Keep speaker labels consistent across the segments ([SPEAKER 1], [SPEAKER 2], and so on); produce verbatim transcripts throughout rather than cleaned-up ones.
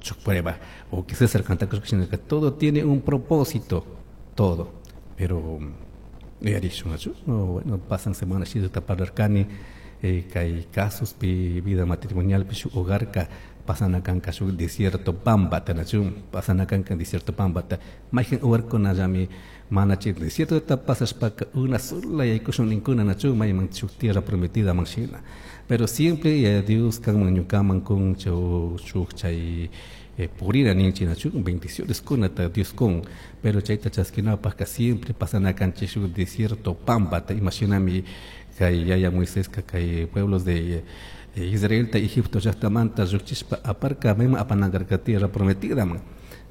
[SPEAKER 1] Shuk prueba. O que César que todo tiene un propósito, todo. Pero yuyarishun, no, bueno, pasan semanas shidata parlarkani, eh, kay casos pi vida matrimonial pi shuk hogarka pasana kanka shuk desierto pampata, nachu pasana kanka desierto pampata, mayhan hogarkunallami mana chay desiertota pasashpaka una sola yaykushun ninkuna, nachu, mayman shuk tierra prometida man shina. Pero siempre ya Dios kanman ñukaman kun shuk chay eh, purina ninchik, nachu, bendiciones kunata Dios kun, pero chayta chaskinapajka siempre pasana kanchik shuk desierto pampata. Imashinami kay yaya Moiseska kay pueblos de eh, Israel ta Egipto llaqtamanta lluqchishpa aparka mayman apanakarka tierra prometida man.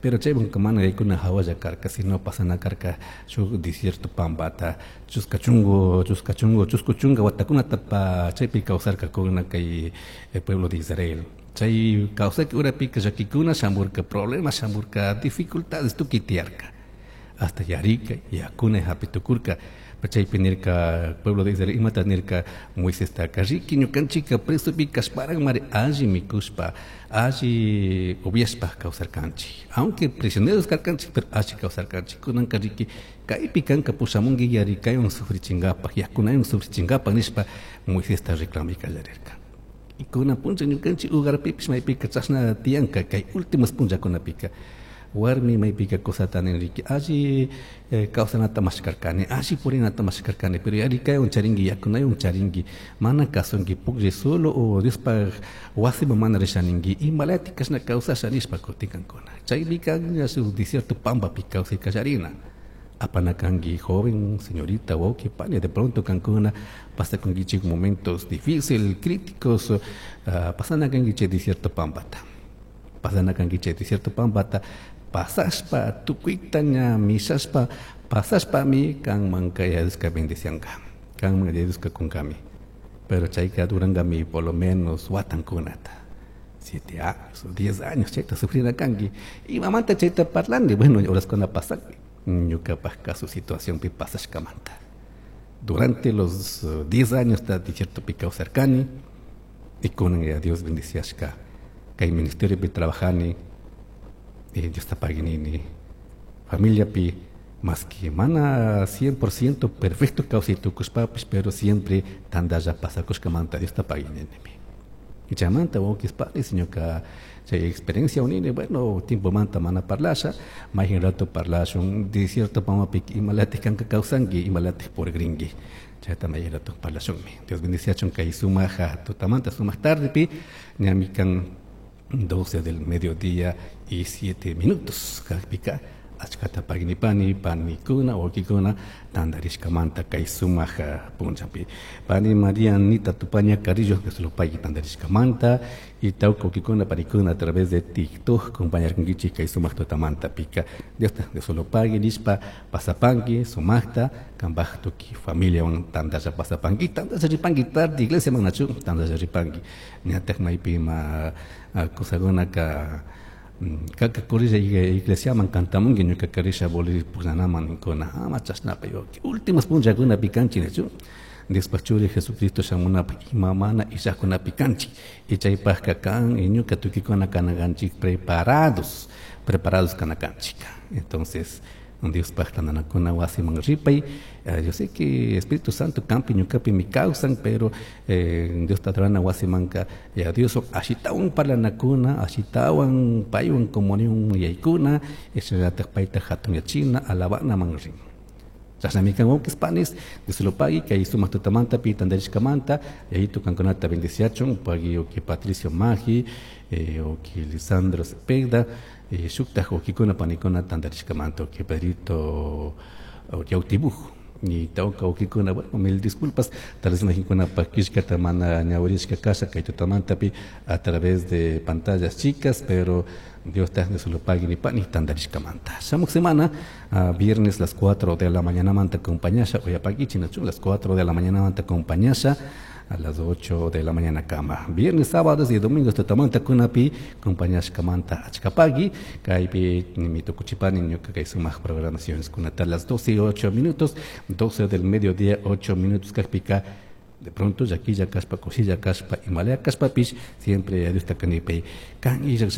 [SPEAKER 1] Pero chayman mana yaykuna hawalla karka, sino pasana karka shuk desierto pampata, chuska chungo, chuska chungo, chusku chunga watakunata pa chaypi kawsarkakuna kay eh, pueblo de Israel. Chay kawsayki urapika llakikuna shamurka, problemas shamurka, dificultades tukuy tiyarka. Hasta yarika, yakuna hapi tukurka. Chaypi nirka pueblo de Israel imata nirka Moisestaka: "Riki, ñukanchika presopi kashparakmari alli mikushpa, alli upiashpa kawsarkanchik. Aunque prisioneros karkanchik, pero alli kawsarkanchik. Kunanka riki, kaypi kanka pushamunki yarikaywan sufrichinkapak, yakunawan sufrichinkapak", nishpa Moisesta reclamay kallarirka. Y kunan puncha ñukanchik hogarpipish maypika chashna tiyanka kay últimos punchakunapika. Warmi maypika cosata nin: "Riki, alli eh, kawsanata mashkarkani, alli purinata mashkarkani, pero yarikaywan charinki, yakunaywan charinki, mana kasunki, pukllay solo o Diospaj wasiman mana rishaninki, imalatik kashna kawsasha", nishpa kutikankuna. Chaypika shuk desierto pampapi kawsay kallarina. Apana kanki joven, señorita, wawki, pani, de pronto kankuna pasakunkichik momentos difíciles, críticos, uh, pasana kanki chay desierto pampata. Pasana kanki chay desierto pampata, pasashpa, tukuyta ña mishashpa, pasashpami kanman Yaya Dioska bendicianka. Kanman Yaya Dioska kunkami. Pero chayka durankami por lo menos watankunata. Siete años, diez años, chayta sufrina kanki. Imamanta chayta parlani? Bueno, horaskuna pasakpi. Ñukapaj caso situación pi pasashkamanta. Durante los uh, diez años ta desiertopi kawsarkani y kunan ya Dios bendiciashka. Kay ministerio pi trabajani y Dios ta paginini. Familia pi más que mana cien por ciento perfecto kawsay tukushpapish, pero siempre tandalla pasakushkamanta Dios ta paginini. Y chaymanta wawkis panis, ñuka chay experiencia unini, bueno, tiempo manta mana parlasha, mayqin rato parlashun desierto pamapi imalatik kanka kawsanki, imalatik purigrinki. Chayta mayqin rato parlashunmi. Dios bendiciachun kay sumaja tutamanta, sumaq tardepi, ñami kan doce del mediodía y siete minutos. Kajpika achkata paginipani, panikuna, wawkikuna, tandarishkamanta kay sumaq punchapi. Pani María Anita Tupaña Carrillo, que se lo pague tandarishkamanta, y tawka wawkikuna, panikuna a través de TikTok, acompañarkunkichik kay sumaq tutamanta pika. Dios ta, Dios lo pague, nishpa, pasapanki, sumaqta, kanpaj tukuy familiawan tandalla pasapanki, tandalla ripanki tarde, iglesia manachu, tandalla ripanki. Ñataj maypi ima kusakunaka kaka kurisha iglesiaman cantamunki, ñuka karisha bolir puklanaman ninkuna, ama chashnapa yo. Últimos punchakunapi kanchik, nachu? Diospaj churi Jesucristo shamunapaj ima mana illajkunapi kanchik. Y chaypajka kan y ñuka tukuykuna kana kanchik preparados, preparados kana kanchik. Entonces, Diospaj tandanakuna wasiman ripay. Uh, yo sé que Espíritu Santo kampi ñukapimi kawsan, pero eh, Diosta adorana wasimanka ya Dios ashitawan parlanakuna, ashitawan paywan comunión yaykuna, shinallatak payta hatunyachina, alabanaman rin. Chashnami kan wawkis panis, Dios lo pague, kay sumaq tutamanta pi tandarishkamanta, yayito kankunata bendiciachun, pagui wawki Patricio Magi, eh, wawki Lisandro Cepeda, eh, shuktaj wawkikuna panikuna tandarishkamanta, wawki Pedrito Yautibuj, y tawka wawkikuna, bueno, mil disculpas, tal vez mayqinkunapaj killkata mana ñawirishka kasha kay tutamantapi a través de pantallas chicas, pero Dios te lo pague ni pani tandarishkamanta. Shamuk semana, uh, viernes las cuatro de la mañana manta acompañasha, uyapakichik, nachu, las cuatro de la mañana manta acompañasha, a las ocho de la mañana kama. Viernes, sábados y domingos tutamanta kunapi acompañashkamanta achkapagui, kaypi mitukuchipani ñuka kay sumaq programaciones kunata a las doce y ocho minutos, doce del mediodía, ocho minutos kajpika, de pronto llaquilla kashpa, kushilla kashpa, imalaya kashpapish, siempre Dios ta kanipay kan